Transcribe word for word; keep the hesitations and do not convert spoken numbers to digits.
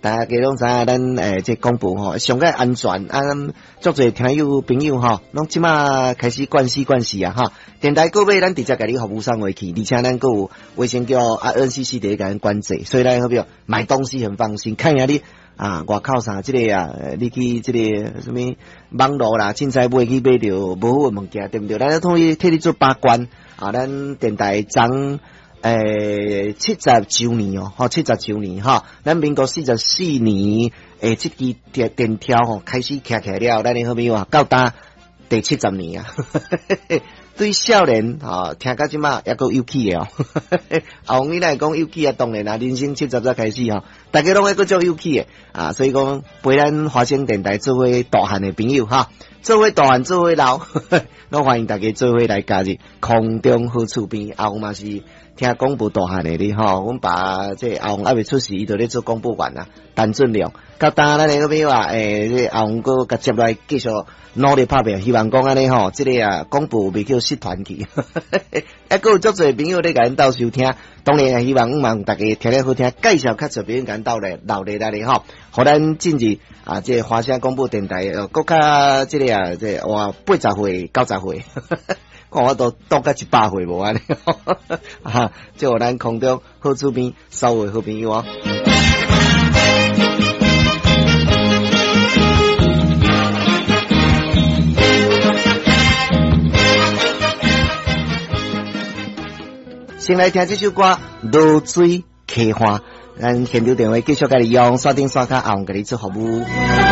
大家攏知影咱欸這廣播吼，上蓋安全啊，足濟聽友朋友吼，攏這馬開始慣勢慣勢啊哈。電台購買咱直接共你服務送回去，而且咱閣有衛生局啊 N C C 佇咧共咱管制，所以咱好朋友買東西很放心。看下你啊，外口啥這个啊，你去這个啥物網路啦，凊彩買去買著無好的物件，對毋對？咱統一替你做把關啊，咱電台昨欸七十週年哦，吼七十週年哈，咱民國四十四年欸，這支電電條吼開始徛起來了，咱的好朋友啊，到今第七十年啊，對少年吼聽到這馬猶閣有趣的哦。阿王你來講有趣啊，當然啊，人生七十才開始吼，大家攏會閣足有趣的啊，所以講陪咱華聲電台做伙大漢的朋友哈，做伙大漢做伙老，攏歡迎大家做伙來加入空中好厝邊。阿王嘛是聽廣播大漢的哩吼，阮爸這阿王猶未出世，伊就咧做廣播員啊，陳俊良。到今咱的好朋友啊，欸，這阿王閣共接來繼續努力拍拼，希望講按呢吼，這個啊廣播袂叫失傳去。猶閣有足濟朋友咧共咱鬥收聽，當然也希望望大家聽咧好聽，介紹較濟朋友共咱鬥來留咧來咧吼，予咱進入啊，這個華聲廣播電台，閣較這個啊，這個哇八十歲、九十歲，看我都當甲一百歲無按呢，啊，祝咱空中好厝邊所有好朋友哦。先來聽這首歌《濁水溪岸》，咱現場電話繼續共你用，山頂山跤阿王共你做服務。